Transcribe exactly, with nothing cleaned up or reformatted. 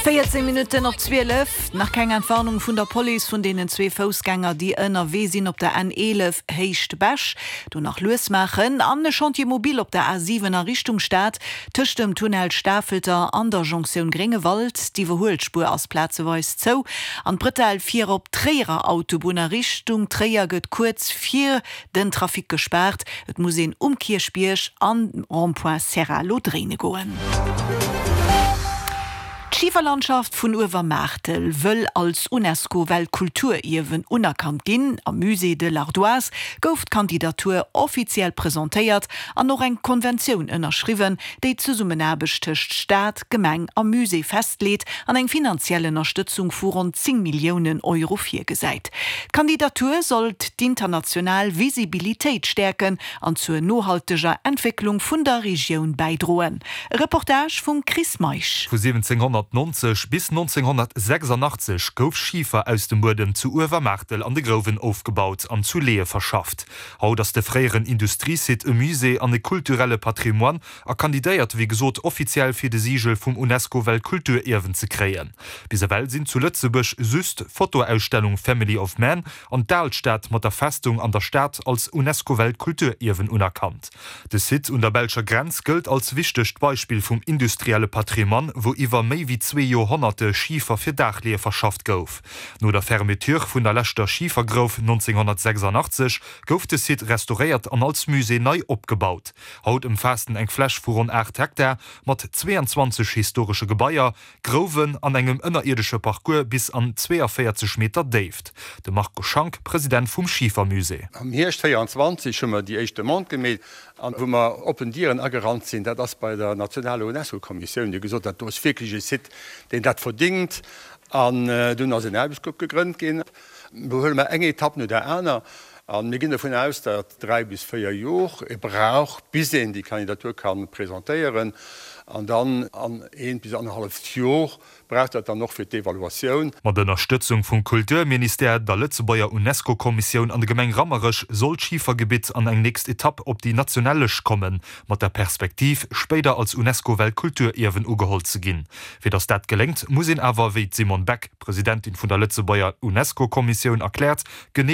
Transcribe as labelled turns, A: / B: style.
A: Véierzéng Minutten op zwielef. Nach keng Entwarnung vun der Police vun deenen zwee Foussgänger, déi ënnerwee sinn op der N eelef Héicht Bech. Do nach lues maachen. An e Chantier mobile op der A siwen a Richtung Stad tëscht dem Tunnel Stafelter an der Jonktioun Gréngewald. D'Iwwerhuelspuer ass plazeweis zou. An d'Bretelle fir op d'Tréierer Autobunn a Richtung Tréier gëtt kuerz fir den Trafic gespaart. Et muss een um Kierchbierg an Rond-point Serralo dréine goen. D'Schiferlandschaft vun Uewermaartel wëll als UNESCO-Weltkulturierwen unerkannt ginn. Am Musée de l'Ardoise gouf d'Kandidatur offiziell presentéiert an och eng Konventioun ënnerschriwwen, déi d'Zesummenaarbecht tëscht Staat, Gemeng a Musée festleet an eng finanziell Ënnerstëtzung vu ronn zéng Milliounen Euro virgesäit. D'Kandidatur soll d'international Visibilitéit stäerken an zur nohalteger Entwécklung vun der Regioun bäidroen. E Reportage vum Chris Meisch.
B: Vu siwwenzénghonnertnonzeg bis nonzénghonnertsechsandachtzeg gouf Schifer aus dem Buedem zu Uewermaartel an de Grouwen ofgebaut an zu Leeë verschafft. Haut ass de fréieren Industriesite e Musée an e kulturelle Patrimoine a kandidéiert wéi gesot offiziell fir de Sigel vum UNESCO-Weltkulturierwen ze kréien. Bis ewell sinn zu Lëtzebuerg just d'Fotoausstellung Family of Man an d'Alstad mat der Festung an der Stad als UNESCO-Weltkulturierwen unerkannt. De Site un der belscher Grenz gëllt als wichtegt Beispill vum industrielle Patrimoine, wou iwwer méi wéi zwee Joerhonnerte Schifer fir Daachleeë verschafft gouf. No der Fermeture vun der leschter Schifergrouf nonzénghonnertsechsandachtzeg gouf de Site restauréiert an als Musée nei opgebaut. Haut ëmfaasst en eng Fläch vu ronn aacht Hektar mat zweeanzwanzeg historesche Gebaier, Grouwen an engem ënnerierdesche Parcours bis an zweeavéierzeg Meter Déift. De Marco Schank, President vum Schifermusée.
C: Am Hierscht véieranzwanzeg hu mer déi éischt Demande gemeet an wou mer oppen Dieren agerannt sinn, dat ass bei der nationaler UNESCO-Kommissioun, déi gesot huet, dat do ass wierklech e Site, deen dat verdingt. An dunn ass en Aarbechtsgrupp gegrënnt ginn. Lo huele mer eng Etapp no der aner a mir ginn dovun aus, datt dräi bis véier Jor ee brauch, bis een déi Kandidatur ka presentéieren. An dann an eent bis annerhalleft Jor brauch dat dann och fir d'Evaluatioun.
B: Mat Ënnerstëtzung vum Kulturministère, der Lëtzebuerger UNESCO-Kommissioun an der Gemeng Rammerech soll d'Schifergebitt an eng nächst Etapp op déi national Lëscht kommen, mat der Perspektiv, spéider als UNESCO-Weltkulturierwen ugeholl ze ginn. Fir datt dat geléngt, muss een awer, wéi d'Simone Beck, Presidentin vun der Lëtzebuerger UNESCO-Kommissioun, erkläert, genee